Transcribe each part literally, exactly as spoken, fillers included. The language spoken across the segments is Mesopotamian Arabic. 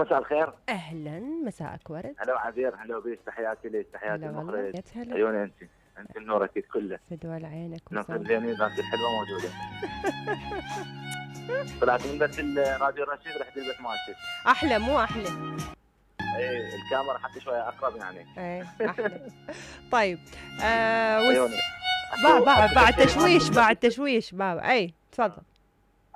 مساء الخير. اهلا، مساءك ورد. هلا عبير، هلا بيك، تحياتي لك، تحياتي هلا والله، المخرج. يا هلا. عيوني انت، انت النور اكيد كله. فدوى عينك ناصر وصال. زيني، ذاك الحلوه موجوده. طلعت من بس الراديو الرشيد، رحت البيت مالتك. احلى مو احلى؟ ايه الكاميرا حتى شويه اقرب يعني. ايه احلى. طيب آه وس... عيوني. با با بعد تشويش بعد تشويش بابا. اي تفضل.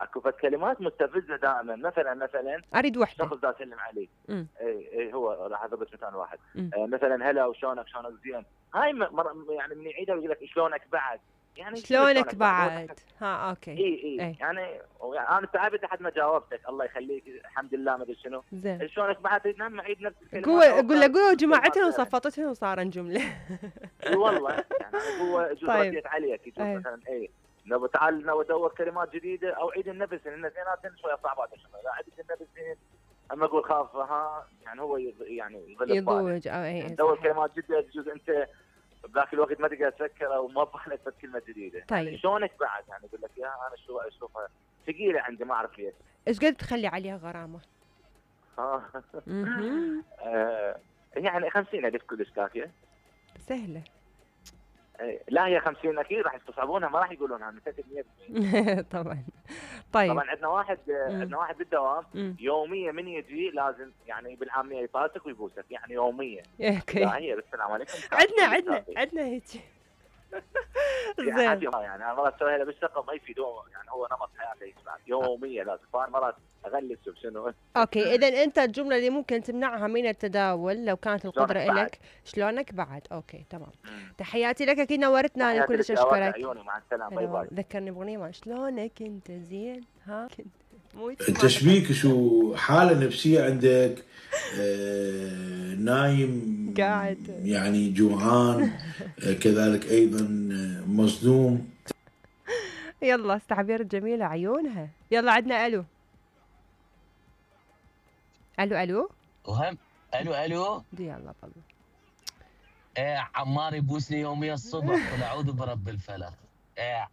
اكو فد كلمات مستفزه دائما، مثلا مثلا اريد وحده. شخص دا يسلم عليك. امم اي اي هو راح اضرب مثال واحد. مم. آه مثلا هلا وشلونك، شلونك زين. هاي مر... يعني من يعيدها ويقول لك شلونك بعد. يعني شلونك بعد؟ ها اوكي. اي اي اي يعني, يعني انا تعبت لحد ما جاوبتك، الله يخليك الحمد لله ما ادري شنو. زين. شلونك بعد نعم اعيد نفس الكلمات. قول قول له قول جماعتهم وصفطتهم وصار جمله. اي والله يعني انا هو يجوز طيب. رديت عليك، يجوز أي. مثلا اي نبغى تعال نبغى ادور كلمات جديده او عيد النفس، لان زينات شويه صعبات لا عيد النفس زين. اما اقول خاف ها يعني هو يض... يعني يظل يضوج او اي يعني دور كلمات جديده، يجوز انت بذاك الوقت ما تقدر تفكر او ما بحلك بس كلمه جديده. طيب. يعني شلونك بعد، يعني اقول لك يا انا شو اشوفها ثقيله عندي ما اعرف ليش. ايش قد تخلي عليها غرامه؟ ها اها آه، يعني خمسين الف كلش كافيه. سهله. لا هي خمسين اكيد راح يستصعبونها، ما راح يقولونها متاكد مية بالمية. طبعا. طيب طبعا عندنا واحد عندنا واحد بالدوام مم. يوميا من يجي لازم يعني بالعاميه يطالتك ويبوسك، يعني يوميا. اوكي. لا هي السلام عليكم. عندنا عندنا عندنا هيك. زين يعني انا مرات اسويها له بالشقه ما يفيدون، يعني هو نمط حياته يسمع يوميا لازم، فانا مرات اغلس بشنو. اوكي اذا انت الجمله اللي ممكن تمنعها من التداول لو كانت القدره لك شلونك بعد. اوكي تمام. مم. تحياتي لك، اكيد نورتنا، انا كلش اشكرك. عيوني مع السلامه، باي باي. ذكرني باغنيه ما شلونك انت زين ها كنت مو تشبيك شو حاله نفسيه عندك؟ آه نايم قاعد يعني جوعان، آه كذلك ايضا مصدوم. يلا استعبير جميله عيونها. يلا عندنا الو الو الو وهم الو الو يلا بالله. ايه عمار يبوسني يوميا الصبح قل اعوذ برب الفلق. ايه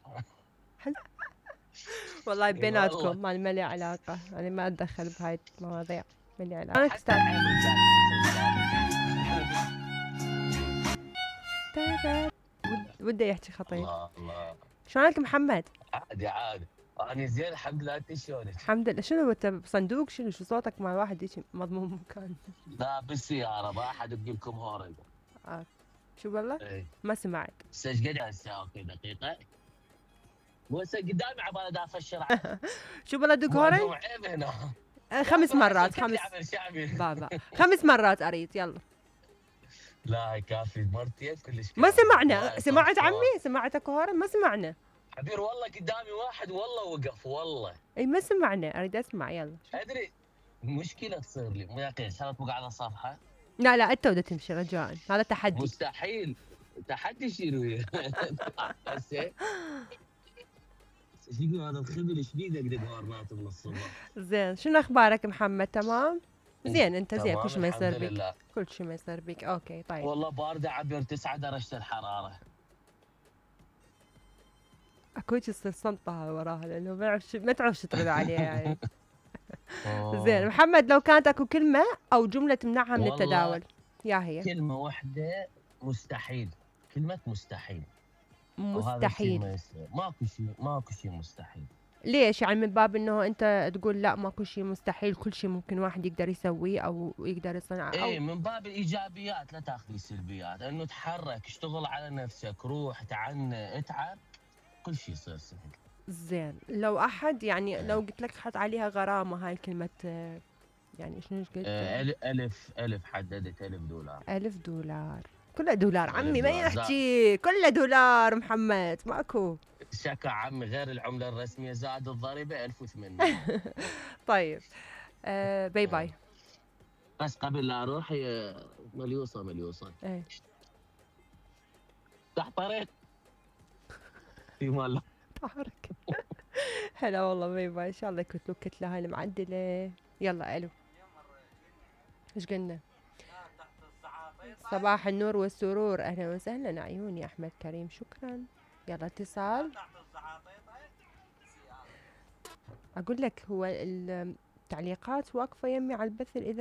والله بيناتكم ما ما لي علاقه، انا ما اتدخل بهاي المواضيع، ما لي علاقه. انا استاذ وده يحكي خطير. الله الله. شلونك محمد؟ عادي عادي انا زين الحمد لله. انت شلونك؟ الحمد لله. شنو انت بصندوق؟ شنو شو صوتك مع واحد هيك مضمون مكان؟ لا بالسياره، ما احد يجيب لكم هوري. اه شو والله؟ ايه ما سمعت. هسه ايش قد هسه؟ اوكي دقيقه. مو هسه قدامي عبالي دا افشر. شو والله دق هوري؟ عيب هنا. خمس مرات خمس بابا خمس مرات اريد. يلا لا كافي مرتين كلش. ما سمعنا. سمعت عمي؟ سمعتك هوري؟ ما سمعنا حبير والله قدامي واحد والله وقف والله. اي ما سمعنا، اريد اسمع. يلا ادري مشكله تصير لي مو يقين صارت توقع على الصفحه. لا لا انت بدك تمشي رجاء، هذا تحدي. مستحيل تحدي شنو هسه؟ شنو هذا الخبل ايش بيدك دق مرات من الصبح؟ زين شنو اخبارك محمد؟ تمام؟ زين انت زين كل شيء ما يصير بك؟ لله. كل شيء ما يصير بك. اوكي طيب. والله بارده عبر تسعة درجه الحراره. اكو هيك تصير صمتها وراها لانه ما يعرف ما تعرف شو ترد عليها يعني. زين محمد لو كانت اكو كلمه او جمله تمنعها من التداول يا هي؟ كلمه واحده مستحيل. كلمه مستحيل. مستحيل. ماكو شيء ماكو شيء مستحيل. ليش؟ يعني من باب انه انت تقول لا ماكو شيء مستحيل، كل شيء ممكن واحد يقدر يسويه او يقدر يصنعه. أو اي من باب الايجابيات لا تاخذي السلبيات، انه تحرك اشتغل على نفسك روح تعني اتعب كل شيء يصير سهل. زين لو احد يعني لو قلت لك حط عليها غرامه هاي الكلمه يعني شنو قلت؟ ألف ألف حددت ألف دولار. ألف دولار كله دولار عمي ما يحكي كله دولار محمد ماكو شكا عمي غير العملة الرسمية زائد الضريبة ألف وثمانمية. طيب آه باي باي. بس قبل لا اروح هي مليوصة مليوصة. ايه تحت طريق في مال طارق. هلا والله باي باي. ان شاء الله يكتلوا الكتلة هاي المعدلة. يلا الو ايش قلنا؟ صباح النور والسرور، اهلا وسهلا عيوني احمد كريم شكرا. يلا اتصال. اقول لك هو التعليقات واقفة يمي على البث الإذاعي.